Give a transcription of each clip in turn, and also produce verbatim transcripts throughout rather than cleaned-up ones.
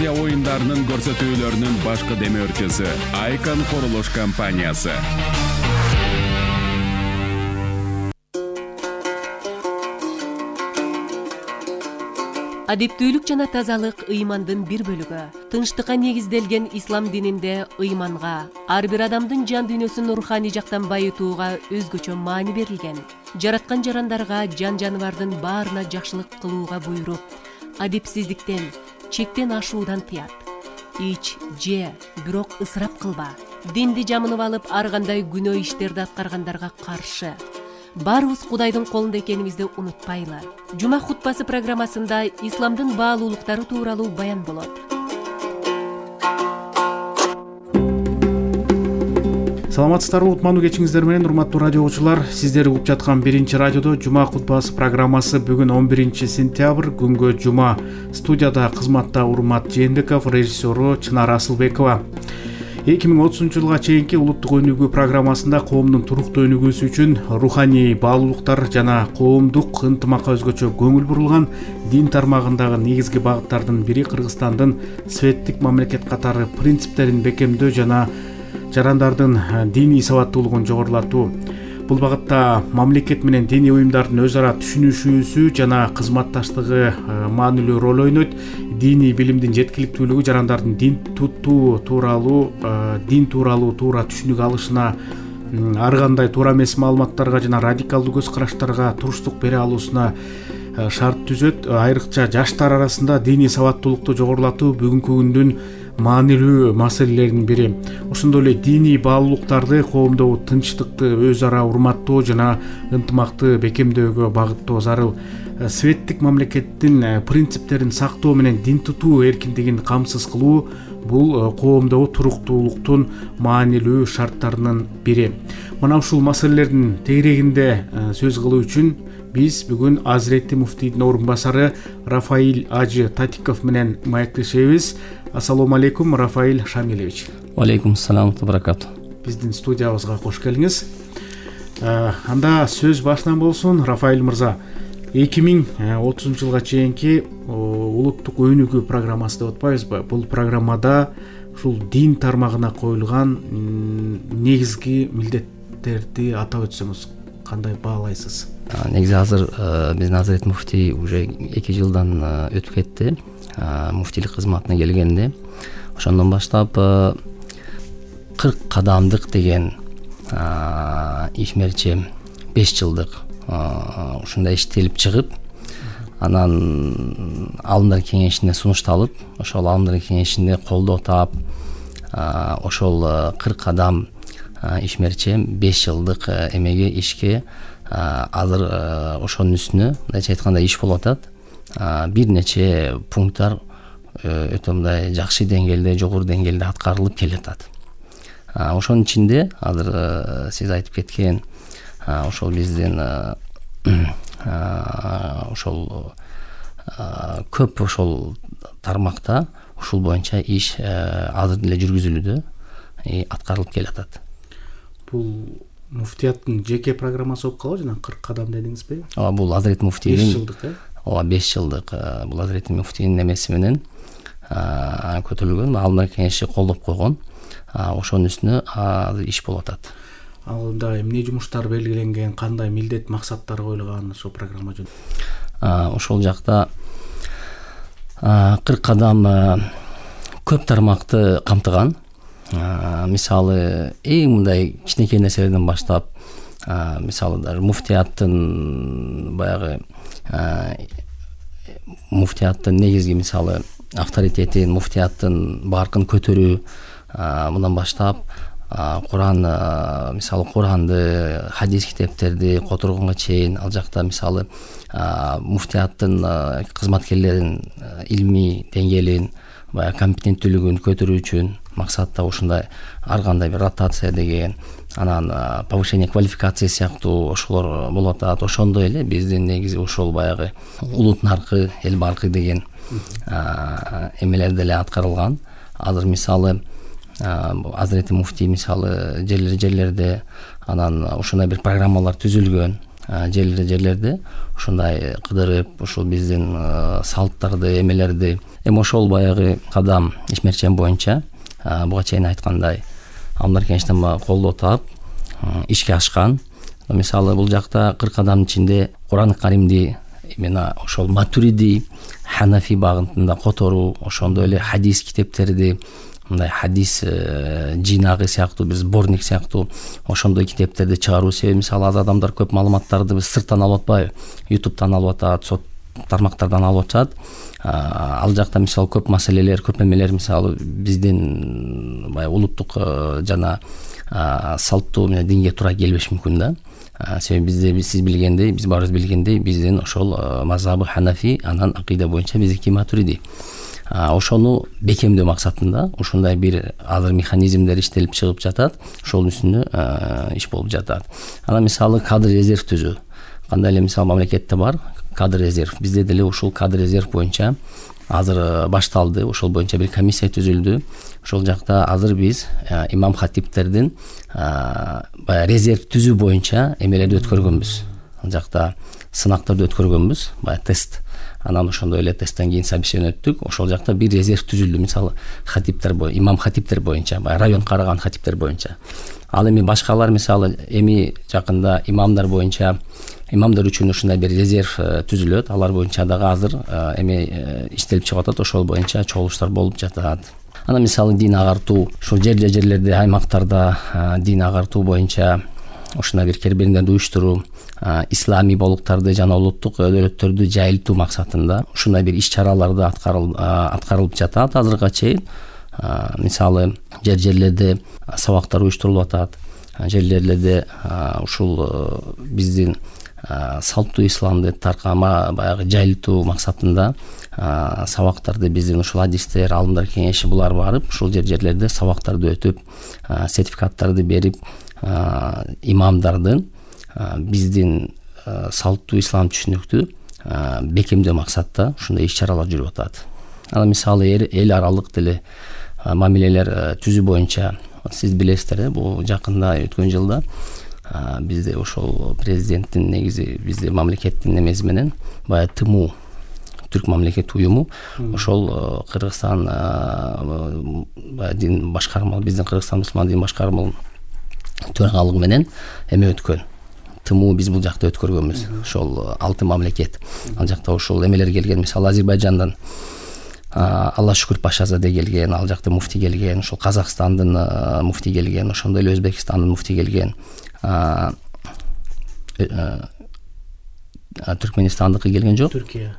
Азия оюндарынын көрсөтүүлөрүнүн башкы демөөрчүсү Айкан курулуш компаниясы. Адептүүлүк жана тазалык ыймандын бир бөлүгү. Тынчтыкка негизделген ислам дининде ыйманга, ар бир адамдын жан дүйнөсүн руханий жактан байытууга өзгөчө маани берилген. Жараткан жарандарга, жан жаныбардын баарына жакшылык кылууга буйруп, адепсиздиктен, чектен ашуудан тыят. Ич, же, бирок ысырап кылба. Динди жамынып алып, ар кандай күнөө иштерди аткаргандарга каршы. Барыбыз Кудайдын колунда экенибизди унутпайлы. Жума хутбасы программасында исламдын баалуулуктары тууралуу баян болот. Саламатсыздарбы, утмандуу кечиңиздер менен, урматтуу радио окуучулар. Сиздер угуп жаткан биринчи радиодо Жума хутбасы программасы бүгүн он биринчи сентябрь, күнгө жума. Студияда кызматта Урмат Жээнбеков, режиссеру Чынар Асылбекова. эки миң отузунчу жылга чейинки улуттук өнүгүү программасында коомдун туруктуу өнүгүүсү үчүн руханий баалуулуктар жана коомдук ынтымакка өзгөчө көңүл бурулган дин тармагындагы негизги багыттардын бири Кыргызстандын светтик мамлекет катары принциптерин бекемдөө жана жарандардын диний сабаттуулугун жогорулатуу. Бул багытта мамлекет менен диний уюмдардын өз ара түшүнүшүүсү жана кызматташтыгы маанилүү роль ойнойт. Диний билимдин жеткиликтүүлүгү жарандардын дин туттуу тууралуу, дин тууралуу туура түшүнүк алышына, ар кандай туура эмес маалыматтарга жана радикалдуу көз караштарга туруштук бере алуусуна шарт түзөт. Айрыкча жаштар арасында диний сабаттуулукту жогорулатуу бүгүнкү күндүн маанилүү маселелеринин бири. Ошондой эле диний баалуулуктарды коомдогу тынчтыкты өз ара урматтоо жана ынтымакты бекемдөөгө багыттоо зарыл. Светтик мамлекеттин принциптерин сактоо менен дин тутуу эркиндигин камсыз кылуу бул коомдогу туруктуулуктун маанилүү шарттарынын бири. Мына ушул маселелердин тегерегинде сөз кылуу үчүн биз бүгүн Азирети муфтийдин орун басары Рафаиль Ажы Татиков менен маектешебиз. Ассалому алейкум, Рафаиль Шамилевич. Алейкум салам ва баракату. Биздин студиябызга кош келиңиз. Анда сөз башынан болсун, Рафаиль мырза. эки миң отузунчу жылга чейинки улуттук өнүгүү программасы деп атпайбызбы? Бул программада ушул дин тармагына коюлган негизги милдеттерди атап өтсөңүз кандай баалайсыз? Негизи азыр биздин Азирет муфтий уже эки жылдан өтүп кетти. Муфтийлик кызматына келгенде ошондон баштап кырк кадамдык деген ишмерчи беш жылдык ушундай иштелип чыгып, анан алымдар кеңешине сунушталып, ошол алымдар кеңешинде колдоо таап, ошол кырк кадам ишмерчи беш жылдык эмеге ишке азыр ошонун үстүнө мындайча айтканда иш болуп атат. Бир нече пункттар өтө мындай жакшы деңгээлде, жогору деңгээлде аткарылып келатат. Ошонун ичинде азыр сиз айтып кеткен ошол биздин ошол көп ошол тармакта ушул боюнча иш азыр деле жүргүзүлүүдө, аткарылып келатат. Бул муфтияттын жеке программасы болуп калабы жана кырк кадам дедиңизби? Ооба, бул Азирет муфтийдин беш жылдык, э? Ооба, беш жылдык бул Азирет муфтийдин эмеси менен көтөрүлгөн, алымдар кеңеши колдоп койгон. Ошонун үстүнө азыр иш болуп атат. Алында эмне жумуштар белгиленген, кандай милдет, максаттар коюлган ошол программа жөнүндө? Ошол жакта кырк кадам көп тармакты камтыган. Мисалы, эң мындай кичинекей нерселерден баштап, мисалы даже муфтияттын баягы муфтияттын негизги мисалы авторитетин, муфтияттын баркын көтөрүү, мындан баштап Куран, мисалы Куранды, хадис китептерди которгонго чейин, ал жакта мисалы муфтияттын кызматкерлеринин илмий деңгээлин, баягы компетенттүүлүгүн көтөрүү үчүн максатта ушундай ар кандай бир ротация деген, анан повышение квалификации сыяктуу ошолор болуп атат. Ошондой эле биздин негизи ошол баягы улут наркы, эл баркы деген эмелер деле аткарылган. Азыр мисалы Азирети муфтий мисалы жерлер жерлерде анан ушундай бир программалар түзүлгөн. жерлерде ушундай кыдырып ушул биздин салттарды эмелерди эми ошол баягы кадам ишмерчен боюнча буга чейин айткандай Алмар Кенчтен колдоо таап ишке ашкан. Мисалы бул жакта кырк кадамдын ичинде Куран Каримди именно ошол Матуриди, Ханафи багытында которуу, ошондой эле хадис китептерди, мындай хадис жыйнагы сыяктуу бир сборник сыяктуу ошондой китептерди чыгаруу. Себеби мисалы аз адамдар көп маалыматтарды биз сырттан алып атпайбы, ютубтан алып атат, сот тармактардан алып атышат. Ал жакта мисалы көп маселелер, көп эмелер мисалы биздин баягы улуттук жана салттуу менен динге туура келбеши мүмкүн да. Себеби бизде сиз билгендей, биз баарыбыз билгендей, биздин ошол мазхабы Ханафи, анан акыйда боюнча биздики Матуриди. Ошону бекемдөө максатында ушундай бир азыр механизмдер иштелип чыгып жатат, ошонун үстүнө иш болуп жатат. Анан мисалы кадр резерв түзүү. Кандай эле мисалы мамлекетте бар кадр резерв, бизде деле ушул кадр резерв боюнча азыр башталды, ошол боюнча бир комиссия түзүлдү. Ошол жакта азыр биз имам хатиптердин баягы резерв түзүү боюнча эмелерди өткөргөнбүз. Ал жакта сынактарды өткөргөнбүз, баягы тест. Анан ошондой эле тесттен кийин собеседование өттүк. Ошол жакта бир резерв түзүлдү, мисалы хатиптер боюнча, имам хатиптер боюнча, баягы район караган хатиптер боюнча. Ал эми башкалар мисалы эми жакында имамдар боюнча имамдар үчүн ушундай бир резерв түзүлөт. Алар боюнча дагы азыр эми иштелип чыгып атат, ошол боюнча чогулуштар болуп жатат. Анан мисалы дин агартуу, ушул жер жерлерде, аймактарда дин агартуу боюнча ушундай бир кербериндерди уюштуруу, ислами болуктарды жана улуттук өдөрөттөрдү жайылтуу максатында ушундай бир иш-чараларды аткарылып жатат азыркыга чейин. Мисалы жер жерлерде сабактар уюштурулуп атат, жер жерлерде ушул биздин салттуу исламды таркама баягы жайылтуу максатында сабактарды биздин ушул адистер, алымдар кеңеши булар барып ушул жер жерлерде сабактарды өтүп, сертификаттарды берип, имамдардын биздин салттуу ислам түшүнүктү бекемдөө максатта ушундай иш-чаралар жүрүп атат. Анан мисалы эл аралык деле мамилелер түзүү боюнча сиз билесиздер, бул жакында өткөн жылда бизде ошол президенттин негизи бизде мамлекеттин эмеси менен баягы ТМУ, Түрк мамлекеттик уюму, ошол Кыргызстан дин башкармалыгы, биздин Кыргызстан мусулман дин башкармалыгынын төрагалыгы менен эме өткөн. ТМУ биз бул жакта өткөргөнбүз. Ошол алты мамлекет. Ал жакта ошол эмелер келген, мисалы Азербайжандан Алла шүкүр Пашазаде келген, ал жакта муфти келген, ошол Казакстандын муфти келген, ошондой эле Өзбекстандын муфти келген. Түркменистандыкы келген жок. Түркия.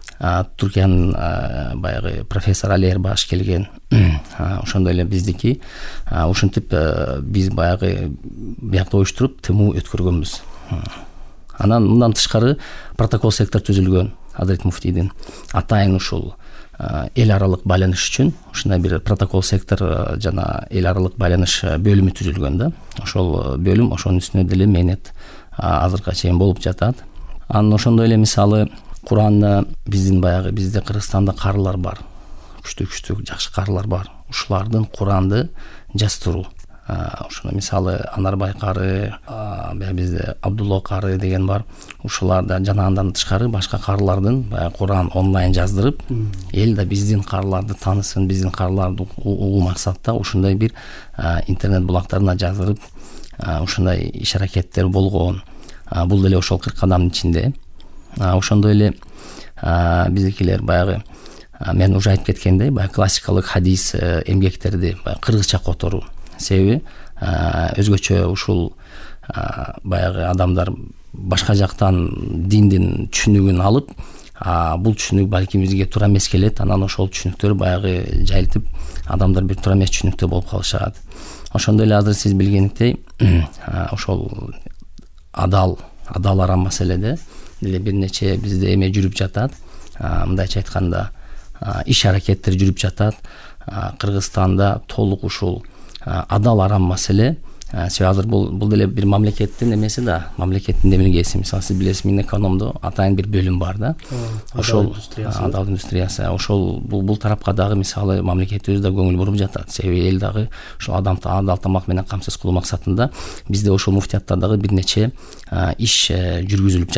Түркиянын баягы профессор Али Эрбаш келген. Ошондой эле биздики ушинтип биз баягы биякта уюштуруп ТМУ өткөргөнбүз. Анан мындан тышкары протокол сектор түзүлгөн Азырет муфтийдин. Атайын ушул эл аралык байланыш үчүн ушундай бир протокол сектор жана эл аралык байланыш бөлүмү түзүлгөн да. Ошол бөлүм ошонун үстүнө деле мээнет азыркыга чейин болуп жатат. Анан ошондой эле мисалы Куранны биздин баягы бизде Кыргызстанда карылар бар. Күчтүү-күчтүү жакшы карылар бар. Ушулардын Куранды жаздыруу. Ошону мисалы Анарбай кары, баягы бизде Абдулла кары деген бар. Ушуларда жана андан тышкары башка карылардын баягы Куран онлайн жаздырып, эл да биздин карыларды таанысын, биздин карыларды угуу максатта ушундай бир интернет булактарына жаздырып, ушундай иш-аракеттер болгон. Бул деле ошол кырк кадамдын ичинде. Ошондой эле биздикилер баягы мен уже айтып кеткендей, баягы классикалык хадис эмгектерди баягы кыргызча которуу. Себеби өзгөчө ушул баягы адамдар башка жактан диндин түшүнүгүн алып, бул түшүнүк балким бизге туура эмес келет. Анан ошол түшүнүктөр баягы жайылтып, адамдар бир туура эмес түшүнүктө болуп калышат. Ошондой эле азыр сиз билгендей, ошол адал, адал арам маселеде деле бир нече бизде эме жүрүп жатат. Мындайча айтканда, иш-аракеттер жүрүп жатат. Кыргызстанда толук ушул адал арам маселе. Себеби азыр бул бул деле бир мамлекеттин эмеси да, мамлекеттин демилгеси. Мисалы сиз билесиз, Минэкономдо атайын бир бөлүм бар да. Ошол адал индустриясы. Ошол бул бул тарапка дагы мисалы мамлекетибиз да көңүл буруп жатат. Себеби эл дагы ошол адамды адал тамак менен камсыз кылуу максатында бизде ошол муфтиятта дагы бир нече иш жүргүзүлүп